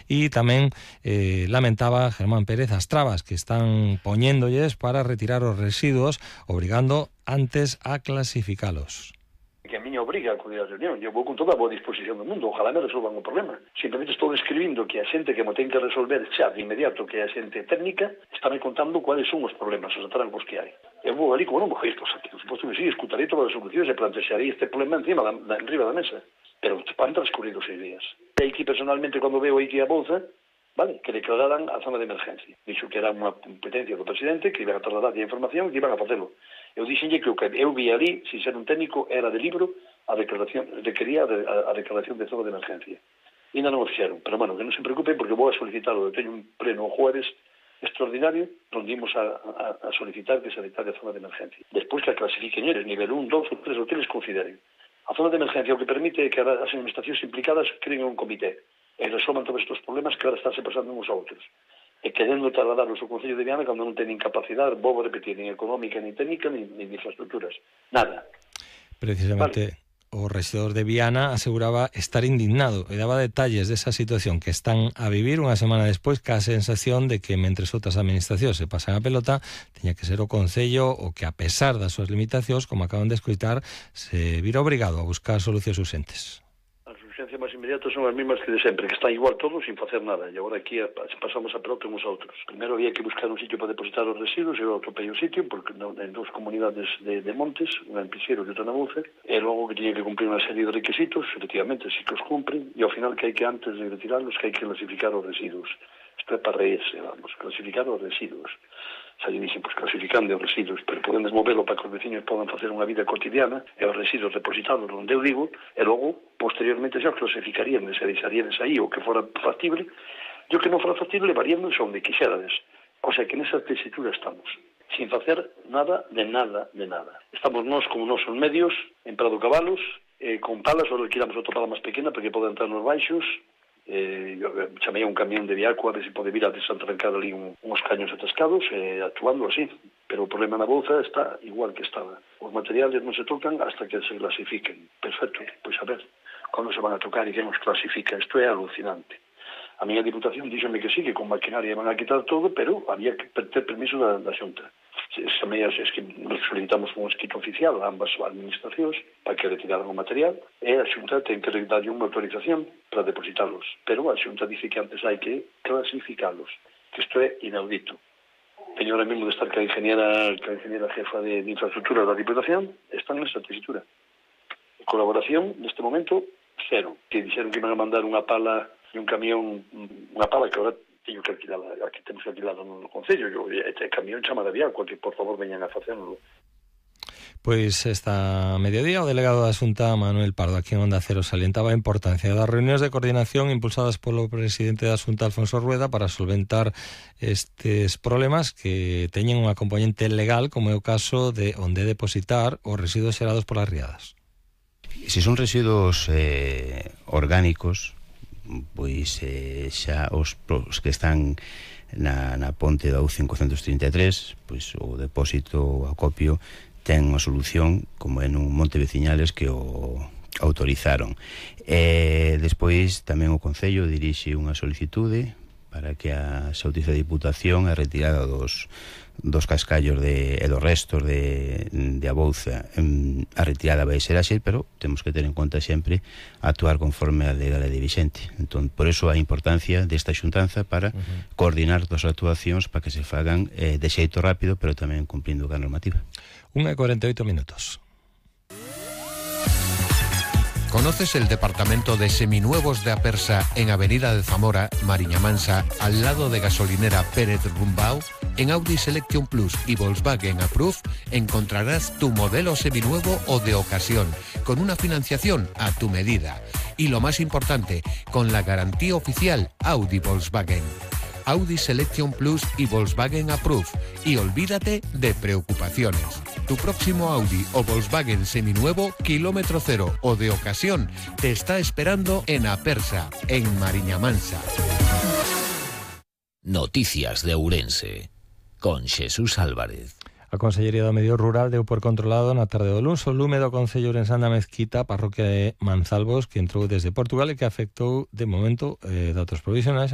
e tamén lamentaba Germán Pérez as trabas que están poñéndolles para retirar os residuos, obrigando antes a clasificalos. Que a miña obriga a acudir á reunión. Eu vou con toda a boa disposición do mundo, ojalá me resolvan o problema. Simplemente estou describindo que a xente que mo ten que resolver xa de inmediato, que é a xente técnica, está me contando cuáles son os problemas, os atrancos que hai. Eu vou ali como non vou isto, por suposto que sí, escutarei todas as solucións e plantexarei este problema enriba da mesa. Pero van transcurrido 6 días. E aquí personalmente, cando veo aquí a bolsa, vale, que declararan a zona de emergencia. Dixo que era unha competencia do presidente, que iban a trasladar a información e que iban a facelo. Eu dixenlle que o que eu vi ali, sin ser un técnico, era de libro a declaración, requería a declaración de zona de emergencia. E ainda non o fixeron, pero, bueno, que non se preocupen porque vou a solicitarlo. Eu teño un pleno o jueves extraordinario onde imos a solicitar que se declare a zona de emergencia. Despois que a clasifiquen eles, nivel 1, 2 ou 3 o que les consideren. A zona de emergencia o que permite é que as administracións implicadas creen un comité e resolvan todos estes problemas que ahora estáse pasando uns a outros. E querendo trasladarlos ao Concello de Viana cando non teñen capacidade, vou repetir, nin económica, nin técnica, nin infraestructuras. Nada. Precisamente, o rexedor de Viana aseguraba estar indignado e daba detalles desa situación que están a vivir unha semana despois, ca sensación de que, mentres outras administracións se pasan a pelota, teña que ser o Concello o que, a pesar das súas limitacións, como acaban de escoitar, se vira obrigado a buscar solucións urxentes. As urxencias máis inmediatas son as mesmas que de sempre, que están igual todos sin facer nada, e agora aquí pasamos a pelota uns a outros. Primeiro había que buscar un sitio para depositar os residuos, e eu atopei un sitio, porque en 2 comunidades de montes, unha en Pixeiro e outra na Bouza, e logo que tiña que cumprir unha serie de requisitos, efectivamente, si que os cumpren, e ao final que hai que, antes de retirarlos, que hai que clasificar os residuos. Isto é para reírse, vamos, clasificar os residuos. Xa lle dixen, pois clasificando os residuos, pero poden desmovelo para que os veciños podan facer unha vida cotidiana, e os residuos depositados onde eu digo, e logo, posteriormente, xa os clasificarían, se deixaríades aí o que fora factible, e o que non fora factible, levaríamos onde quixerades. O sea, que nesa tesitura estamos, sin facer nada de nada de nada. Estamos nós como nosos medios, en Prado Cabalos, con palas, ou alquilamos outra pala máis pequena, para que poda entrar nos baixos, chamei a un camión de Viaco a ver se pode vir a desatrancar ali uns caños atascados, actuando así. Pero o problema na Bouza está igual que estaba. Os materiales non se tocan hasta que se clasifiquen. Perfecto, pois a ver cando se van a tocar e quen os clasifica. Isto é alucinante. A miña diputación díxome que sí, que con maquinaria van a quitar todo, pero había que ter permiso da Xunta. Es que solicitamos un escrito oficial a ambas administracións para que retiraran o material, e a Xunta ten que darlle unha autorización para depositarlos. Pero a Xunta dice que antes hai que clasificarlos, que isto é inaudito. Teño ahora mesmo de estar que a ingeniera jefa de infraestructura da Diputación, están nesa tesitura. Colaboración, neste momento, cero. Que dixeron que iban a mandar unha pala e un camión, unha pala que agora teño que alquilar, aquí temos que alquilarlo no Concello, este camión chama de Viaco, que por favor veñan a facérnoslo. Pois esta mediodía o delegado da Xunta, Manuel Pardo, aquí en Onda Cero, salientaba a importancia das reunións de coordinación impulsadas polo presidente da Xunta, Alfonso Rueda, para solventar estes problemas que teñen unha componente legal, como é o caso de onde depositar os residuos xerados polas riadas. Se son residuos orgánicos, pois xa os que están na ponte da U533, pois o depósito, o acopio, ten unha solución, como en un monte veciñales que o autorizaron. Despois tamén o Concello dirixe unha solicitude para que se autorice a Diputación a retirada dos cascallos e dos restos de a Bouza. A retirada vai ser así, pero temos que ter en conta sempre actuar conforme a legalidade vixente. Entón, por iso a importancia desta xuntanza para coordinar todas as actuacións para que se fagan de xeito rápido, pero tamén cumplindo a normativa. 1:48 minutos. ¿Conoces el departamento de seminuevos de Apersa en Avenida de Zamora, Mariña Mansa, al lado de gasolinera Pérez Rumbau? En Audi Selection Plus y Volkswagen Approve encontrarás tu modelo seminuevo o de ocasión, con una financiación a tu medida. Y lo más importante, con la garantía oficial Audi Volkswagen. Audi Selection Plus y Volkswagen Approve. Y olvídate de preocupaciones. Tu próximo Audi o Volkswagen seminuevo, kilómetro cero o de ocasión, te está esperando en Apersa, en Mariña Mansa. Noticias de Ourense, con Xesús Álvarez. A Consellería do Medio Rural deu por controlado na tarde do luns o lume do Concello ourensán da Mezquita, parroquia de Manzalbos, que entrou desde Portugal e que afectou, de momento, datos provisionais,